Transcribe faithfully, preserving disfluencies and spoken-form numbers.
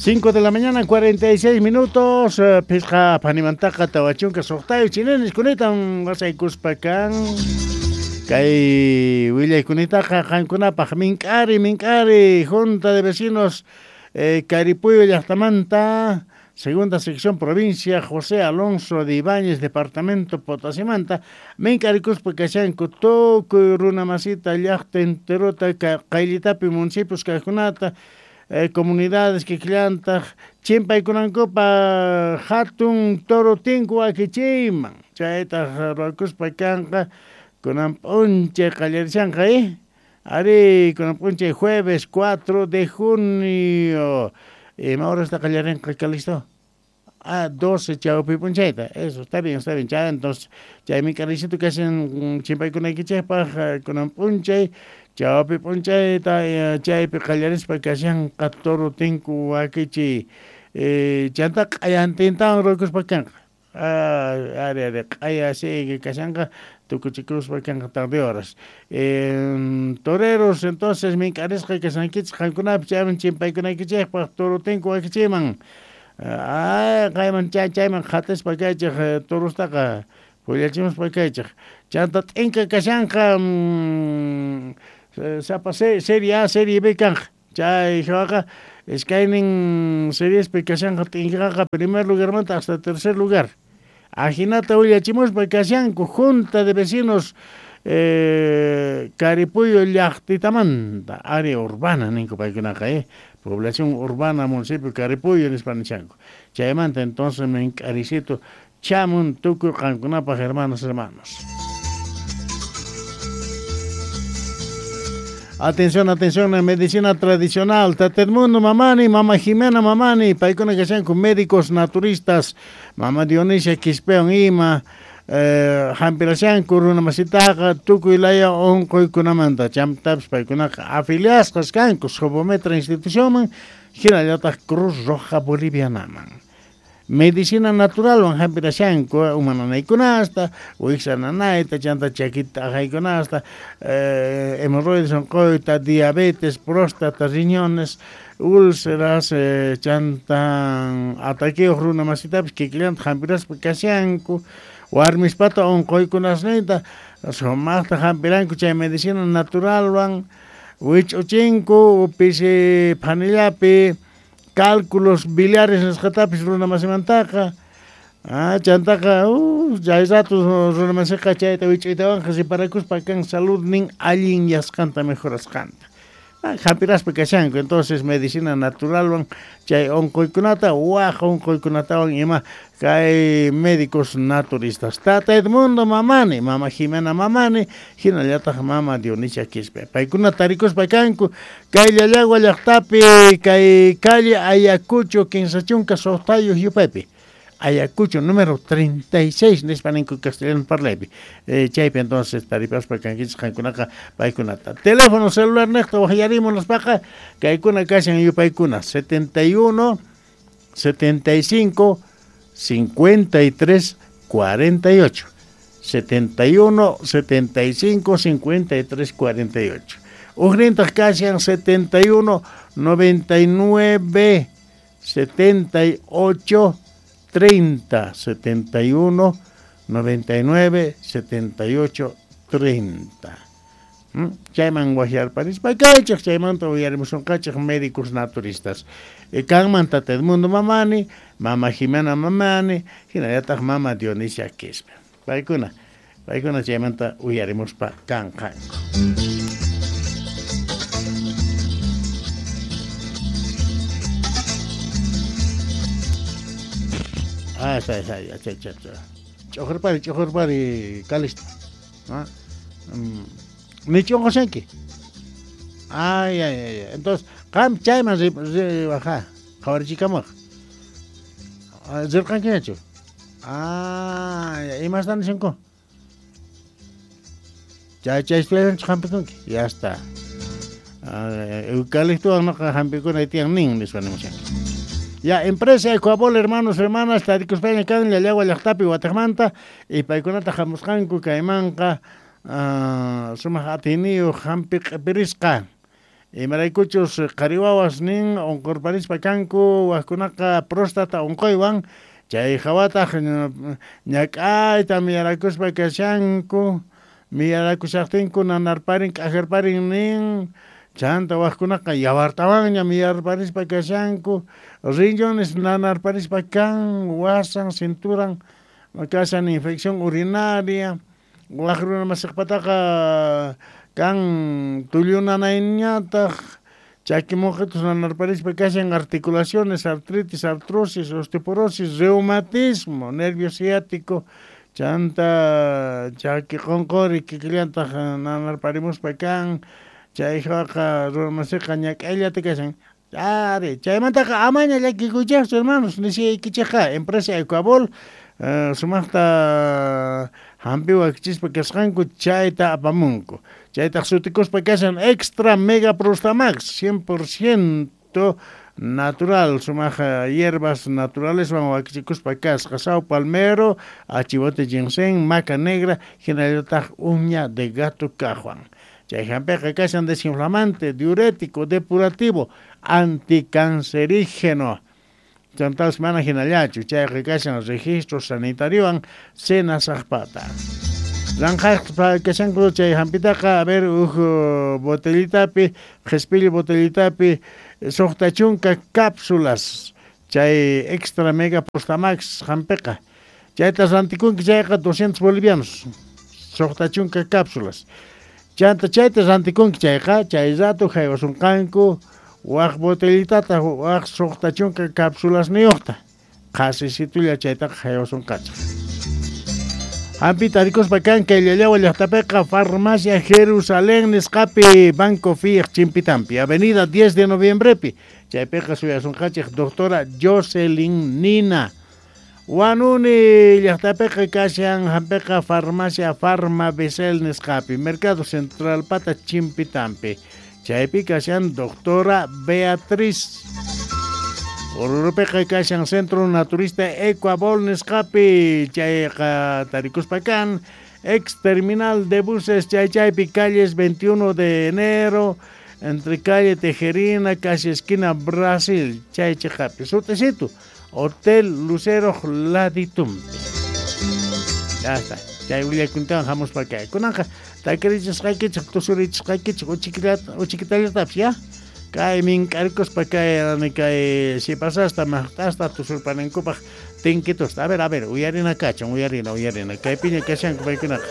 cinco de la mañana, cuarenta y seis minutos. Pisqa panimantaqa tawachunka suqtayu chinenis kunitan wasaykuspa kan. Kay willaykunitaqa qankunapaq mink'ari mink'ari Junta de Vecinos eh, Caripuyo llaqtamanta, segunda sección provincia José Alonso de Ibáñez, departamento Potosimanta, mink'arikuspa kashanku tukuy runa masita llaqta enterota qayllitapi municipios kaqkunata eh, comunidades kikllantaq chimpaykunankupa hatun toro tinku wakichiyman chaytaq ruwakuspa kanqa kunan p'unchay qallarishanqa eh ari kunan p'unchay jueves cuatro de junio. Ima horasta qallarinqa Calixto? Ah, doce chawpi p'unchayta. Eso, está bien, está bien. Chay, entonces, chay mink'aricito kashan chimpaykunaykichikpaq kunan p'unchay chawpi p'unchayta chaypi qallarispa kashanqa toro tinku wakichiy. Eh, chanta q'ayantintawan ruwakuspa kanqa. Ah, ari, ari, q'aya sigue kashanqa tukuchikuspa kanqa tarde horas. Eh, toreros, entonces, mink'arisqa kashankichik qankunapi chayman chimpaykunaykichikpaq toro tinku wakichiyman. Ah, qayman chay chayman qhatispa kaychik torostaqa pullachimuspa kaychik. Chanta t'inka kashanqa mm, sapa serie A, serie B kanqa. Chay hawaqa iskaynin seriespi kashanqa t'inkaqa primer lugarmanta hasta tercer lugar. Ajinata willachimuspa kashanku Junta de Vecinos eh, Caripuyo llaqtitamanta, área urbana ninku paykunaqa eh, población urbana municipio Caripuyo nispa nishanku. Chaymanta entonces mink'aricito chamun tukuy qankunapaq hermanos hermanos. Atención, atención, en medicina tradicional, Tata Edmundo Mamani, Mama Jimena Mamani, paykuna kashanku médicos naturistas, Mama Dionisia Quispeon ima, eh, hampirashanku runa masitaqa tukuy laya unquykunamanta, chantapis paykunaqa afiliasqas kanku Sobometra institucionman, hinallataq Cruz Roja Bolivianaman. Medicina naturalwan hampirashanku uma nanaykunasta, wiksa nanayta, chanta chakita aqaykunasta, eh, hemorroides unquyta, diabetes, próstata, riñones, úlceras, eh, chantan ataqueos runa masitapis kikillanta hampiraspa kashanku, warmispata unquykunasninta sumaqta hampiranku chay medicina naturalwan, wich'uchinku pisi phanillapi cálculos biliares nisqatapis runa masimantaqa. Ah, chantaqa, uh, chay rato runa masiqa chayta wich'uytawanqa riparakuspa kan saludnin allin yasqanta mejorasqanta. Ah, hampiraspa kashanku, entonces medicina naturalwan chay unquykunata waj unquykunatawan ima kay médicos naturistas. Tata Edmundo Mamani, Mama Jimena Mamani, hinallataq Mama Dionisia Quispe. Paykuna tarikuspa kanku kay Llallagua llaqtapi, kay calle Ayacucho kinsa chunka suqtayuq yupaypi. Ayacucho número treinta y seis nispa ninku castellano parlaypi. Eh, chaypi entonces taripaspa kankichik qankunaqa paykunata. Teléfono celular niqta waqyarimun nispaqa kaykuna kashan yupaykuna setenta y uno, setenta y cinco, cincuenta y tres, cuarenta y ocho. setenta y uno, setenta y cinco, cincuenta y tres, cuarenta y ocho. Ujnintaq kashan setenta y uno, noventa y nueve, setenta y ocho, treinta, setenta y uno, noventa y nueve, setenta y ocho, treinta. ¿Mm? Chayman waqyarparispa kaychik, chaymanta uyarimusunqachik médicos naturistas. E, kanman Tata Edmundo Mamani, Mama Jimena Mamani, hinallataq Mama Dionisia Quispe. Paykuna, paykuna chaymanta uyarimuspa kanqanku. Ah, está, está, ya, cha, cha, cha. Ch'uqurpari, ch'uqurpari, Calixto. ¿Ah? Mm. Ni ch'uqushanki. Ay, ay, ay. Entonces, qam chayman ri, ri, ajá, qhawarichikamuq. Rirqankiñachu? Ah, imastan nishanku? Chay, chay estudianchu hampikunki. Ya está. Eucaliptowan noqa hampikuna tiyan nin, nispa nimushanki. Ya, empresa Ecuabol, hermanos, hermanas, tarikuspaña kan Llallagua llaqtapi wataqmanta, y paykunata hamusqanku kaymanqa uh, sumaq atiniyuq hampi q'ipirisqa. Imaraykuchus qhari wawas nin unqurparispa kanku wajkunaqa próstata unquywan chay hawataq ñak'ayta miyarakuspa kashanku miyarakushaqtinku nanarparin k'ajarparin nin chanta wajkunaqa yawartawanña miyarparispa kashanku riñones nanarparispa kan wasan cinturan kashan infección urinaria waj runa masiqpataqa kan tullu nanayñataq chaki mojitos nanarparispa kashan articulaciones, artritis, artrosis, osteoporosis, reumatismo, nervio ciático, chanta chaki qonqori kikillantaq nanarparimuspa kan chay hawaqa runa masiqa ñak'ayllata kashan. Ari, chaymantaqa amaña llakikuychaqchu hermanos, nisiyaykichikqa empresa Ecuabol uh, sumaqta hampi wakichispa kasqanku chayta apamunku. Chaytaq sutikuspa kashan Extra Mega Prostamax, cien por ciento natural, sumaq hierbas naturales wakichikuspa kasqa, sao palmero, achivote ginseng, maca negra, hinallataq uña de gato kajwan. Chay hampiqa kashan desinflamante, diurético, depurativo, anticancerígeno. Chantas mana hinallachu, chayqa kashan registro sanitariowan senasaqpata. Ranqaqpa kashanku chay hampitaqa, a ver, uj botellitapi, qhispilli botellitapi, suqta chunka cápsulas, chay Extra Mega Prostamax hampiqa. Chayta rantikunki chayqa doscientos bolivianos, suqta chunka cápsulas. Chanta chayta rantikunki chayqa, chay rato haywasunqanku waj botellitata, waj suqta chunka cápsulas niyuqta. Qhasisitulla chaytaqa haywasunqachaq. Hampi tarikuspa kan kay Llallawa llaqtapiqa Farmacia Jerusalén nisqapi Banco F I A Chimpitampi, Avenida diez de Noviembrepi. Chaypiqa suyasunqachik doctora Jocelyn Nina. Wanuni llaqtapiqa kashan hampiqa Farmacia Farma Becel nisqapi, Mercado Central pata Chimpitampi. Chaypi kashan doctora Beatriz. Orurupiqa kashan Centro Naturista Ecuabol nisqapi, chayqa tarikuspa kan ex terminal de buses chay chaypi calles veintiuno de enero, entre calle Tejerina, casi esquina Brasil, chay chiqapi, sutisitu, Hotel Lucero Laditumpi. Ya está, chay willakuntawan hamuspa kay. Kunanqa takirichisqaykichik, tusurichisqaykichik, uchikitallatapis, ya? Kay mink'arikuspa kay kay sipasasta maqt'asta tusurpanankupaq tinkitusta. A ver, a ver, uyarina kachun, uyarina, uyarina. Kaypiña kashanku paykunaqa.